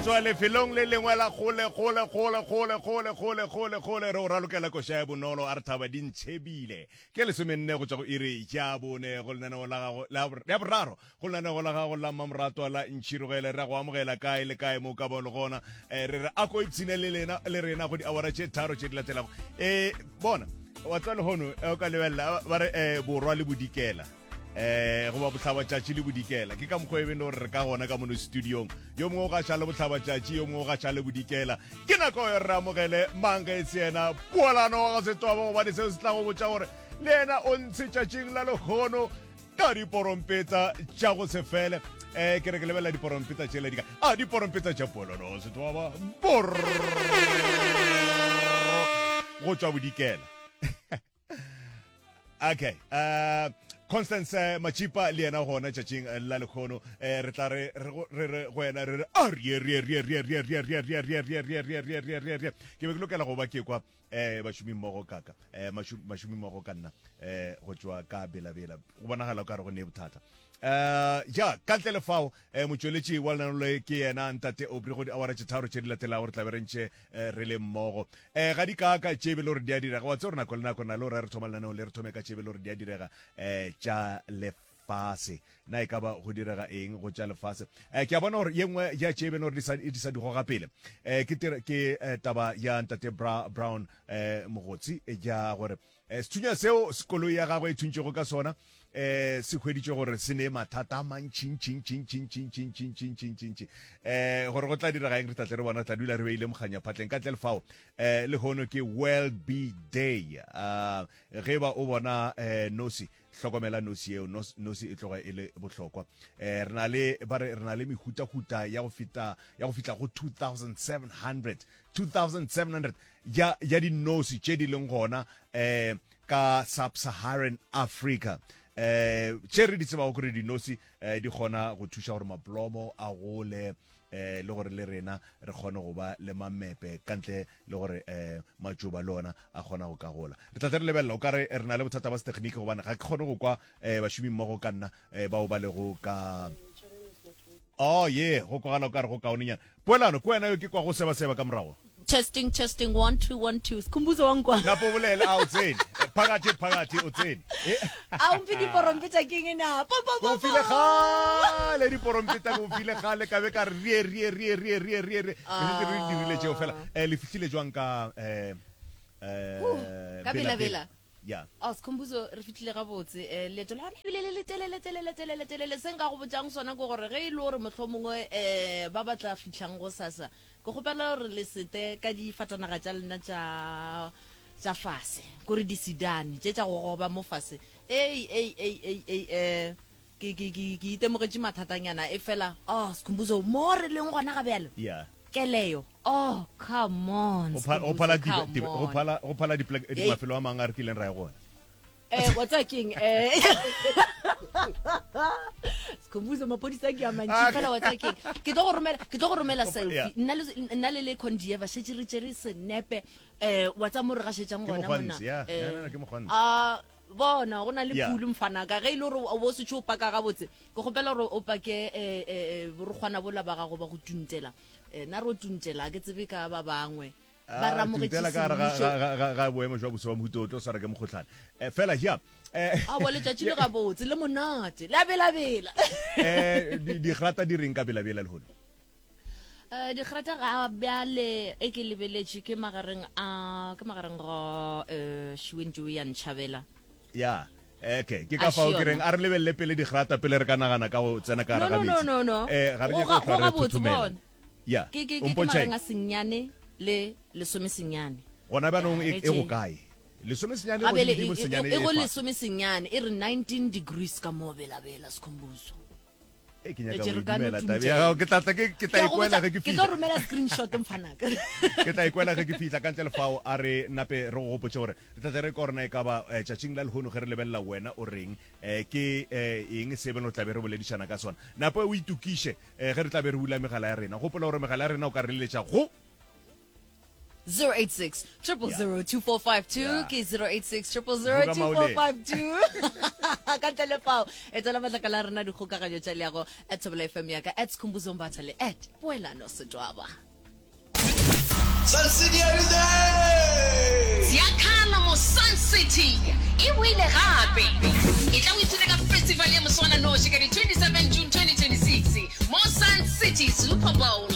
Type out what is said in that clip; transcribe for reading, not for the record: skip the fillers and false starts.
tšwa lefelong le lengwe la kgole kgole kgole kgole kgole kgole kgole kgole re o ralokela koša ya bonolo a re thaba di ntšhebile ke lesomenne go tšwa go iri ya bone go lenaneo la gago la ya boraro go lenaneo la gago la mmamoratwa la ntšhirogele re a go amogela kae le kae mo ka bo le gona eh, re re a ko ipshine le lena le rena go diawara tše tharo tše di latelago um bona wa tswa lehono eh, o ka lebelela ba re um borwa le bodikela eh goba bohlabatšatši le bodikela ke ka mokgwa e beng gore re ka gona ka mono studiong yo mongwe o gaša le bohlabatšatši yo mongwe o gaša le bodikela ke nako yo re amogele mang ge e se yena poelano wa ga setwaba gobane seo se tla go botša gore le yena o ntshe tšatšing la lehono ka diporompetsa tša go se fele um ke re ke lebelela diporompetsa tšela di ka a diporompetsa tša poelano wa setwaba bor go tšwa bodikela okay uh, constance eh, machipa le yena gona tšatšing eh, la lekgono eh, re tla re re re go yena re re a rie rie rie rie rie rie rie rie rie rie rie rie rie rie rie rie ke be ke lokela go ba ke kwa eh bašomi mmogo kaka eh bašomi mmogo ka nna eh go tšwa ka belabela go bonagala o ka re go ne bothata eh ja ka ntle le fao eh motšweletši wa lenano le ke yena ntate Aubrey go diawara tše tharo tše di latelago re tla be re ntše eh, re le mmogo eh ga di kaaka tše be le gore di a direga wa tse gore nako le nako na le gore re thoma lenaneo le re thome ka tše be le gore di a direga eh tša lefase na e ka ba go direga eng go tša lefase eh ke a bona gore ye nngwe ya tše be le gore di sa di sa di goga pele eh ke ke eh, taba ya ntate Bra Brown eh Mogotsi ya gore Eh, sethunya seo koloi ya gagwe e thuntšego ka sona eh se hweditše gore se ne mathata a mantšhintšhintšhintšhintšhintšhintšhintšhintšhintšhi eh gore go tla direga eng re tlatle re bona re tla dula re beile mokganya phatleng ka ntle le fao eh lehono ke world bee day uh, ge ba o bona eh nosi hlokomela nosi yeo nosi e tloga e le bohlokwa eh re na le ba re re na le mehutahuta ya go feta ya go fihla go 2700 2700 ya ya dinosi tše di leng gona eh ka sub-Saharan Africa eh tše re di tsebago gore dinosi eh, di kgona go thuša gore mablomo a gole eh le gore le rena re kgone go ba le mamepe ka ntle le gore eh matšoba le ona a kgona go ka gola re tla tle re lebelela o ka re re na le bothata ba setegniki gobane ga ke kgone go kwa eh bašomi mmogo ka nna eh bao ba lego ka Oh ye, go kwagala o ka re go kaonenyana. Poelano, ke wena yo ke kwago sebaseba ka morago. Testing, testing, 1 2 1 2. Sikhumbuzo wa nkwa. Napo bolele, a o tsene. Phakathi, phakathi, o tsene. A o mphe diporompeta ke eng na? Po po po. Ko file gale diporompeta, ko file gale ka be ka re rie rie rie rie rie rie rie. Re šetše re dirile tšeo fela. Eh le fihlile jwang ka eh eh Ka bela bela. Ya. Oh, Sikhumbuzo, re fihlile gabotse. Eh, leeto la rena ebile le le telele, telele, telele, telele. Se nka go botšang sona ke gore ge e le gore mohlomongwe eh, ba ba tla fihlang gosasa, ke kgopela gore le sete ka difatanaga tša lena tša tša fase, kore disedane tše tša go goba mo fase. Ei, ei, ei, ei, ei, eh, Ke, ke, ke, ke itemogetše mathatanyana, efela, oh, Sikhumbuzo, mo re leng gona ga bjalo, Yeah. keleyo, oh, come on, Go phala, go phala Sikhumbuzo, di, come di, go on. phala, go phala dipoleke, Hey. mafelo a mangwe a re kileng ra ya go ona. Eh, wa tseba keng? Eh, Sikhumbuzo, maphodisa ke a mantši, Ah, fela wa tseba keng? Ke tlo go romela, ke tlo go romela Yeah. selfie. Nna le, nna le le Condieva, šetše re tšere senepe, eh, wa tseba mo re gašetšang Ke gona mona. mokgwantsi, yeah. Eh, Yeah, no, no, ke mokgwantsi. ah, Bona, go na le Yeah. pulu mfanaka. Ge e le gore o bo o setše o paka gabotse, ke kgopela gore o pake eh, eh, eh, borokgwana bola ba gago ba go tuntela. Eh, nna re o tuntela, ga ke tsebe ka ba bangwe. Ba re Ah, amogetše tuntela ka gare ga- semmušo. ga- ga- ga- ga boemo jwa boso ba mohuta o tlo swara ke mokgohlane Eh, fela ja eh, Aowa, letšatši le gabotse, le monate, le a belabela. eh, di- digrata di reng ka belabela lehono Eh, digrata ga bjale e ke lebeletše ke magareng a ke magareng ga eh šiwentšo ya ntšhabela ya okay ke ka fao ke reng a re lebelele pele digrata pele re ka nagana ka go tsena ka gare ga no metsi no no no eh ga re nyake go hlwa re thothomela ya ke ke ke magareng a senyane le lesome senyane gona bjanong e, e go kae lesome senyane go godimo senyane e go lesome senyane e re 19 degrees ka mo belabela sekhombuso Ee, ke nyaka go dumela tabe ya gago ke tla tla ke ke tla ikwela ge ke fihla. Ke tlo romela screenshot mfanaka. Ke tla ikwela ge ke fihla ka ntle le fao a re nape re go gopotše gore re tla tle re kwa gore na e ka ba eh, tšatšing la lehono ge re lebelela wena o reng eh, ke eh, eng se beno tla be re boledišana ka sona. Nape o itokiše eh, ge re tla be re bula megala ya rena. Gopola gore megala ya rena o ka re leletša go. 086 000 2452 ke 086 000 2452 ka ntle le fao etela matlakala a rena dikgokaganyo tša leago at Thobela FM ya ka at Skhumbuzo Mbatha le at Poelano Setwaba. Sun City are you there? Ziakhala mo Sun City e boile gape. Etla o ipshine ka festival ya moswananoši ka di 27 June 2026 mo Sun City Super Bowl.